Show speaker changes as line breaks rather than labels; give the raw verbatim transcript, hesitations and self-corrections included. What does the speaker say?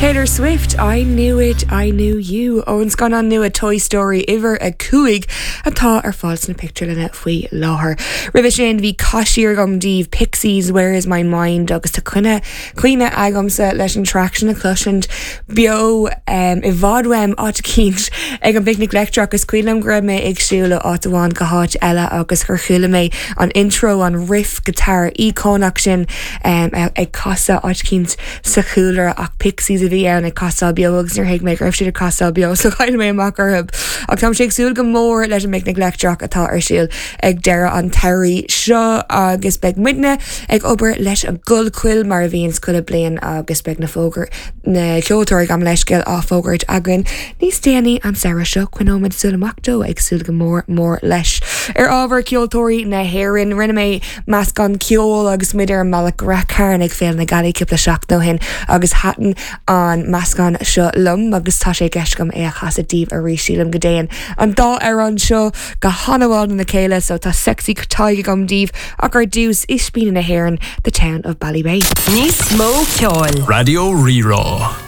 Taylor Swift, I knew it, I knew you ón scannán nua Toy Story uimhir a cúig atá ar fáil sna pictiúrlanna faoi láthair. Roimhe sin bhí caisiar agam daoibh Pixies Where is my mind agus tá cuine cuimhne agamsa leis an track sin a chloisint beo um, i bhfad uaim áit eicínt ag an bPicnic Leictreach agus cuimhin liom go raibh mé ag siúl ó áit amháin go háit eile agus gur chuala mé an intro an riff guitar íocónach sin um, ag casadh áit eicínt sa chúlra ach Pixies a bhí ann ag casadh beo agus níor thuig mé go raibh siad ag casadh beo so chaill mé amach orthu. Ach tá sé ag súil go mór leis an bPicnic Leictreach atá ar siúl ag deireadh an tsamhraidh seo agus beidh muidne ag obair leis an gCollchoill mar a bhíonn chuile bliain agus beidh na fógair na ceoltóirí gabh mo leithscéal á bhfógairt againn níos déanaí an samhradh seo coinneoimid súil amach dó ag súil go mór mór leis. Ar ábhar ceoltóirí na hÉireann rinne mé meascán ceoil agus muid ar an mbealach go Rath Cairn ag Féile na Gealaí cúpla seachtain ó shin agus thaitin an meascán seo liom agus tá sé i gceist agam é a chasadh daoibh arís sílim go dtéann an dá amhrán seo go han-mhaith lena chéile so tá sexy Tadhg agam daoibh ach ar dtús Ispíní na hÉireann the town of Ballybay.
Níos mó ceoil.
Raidió Rí-Rá.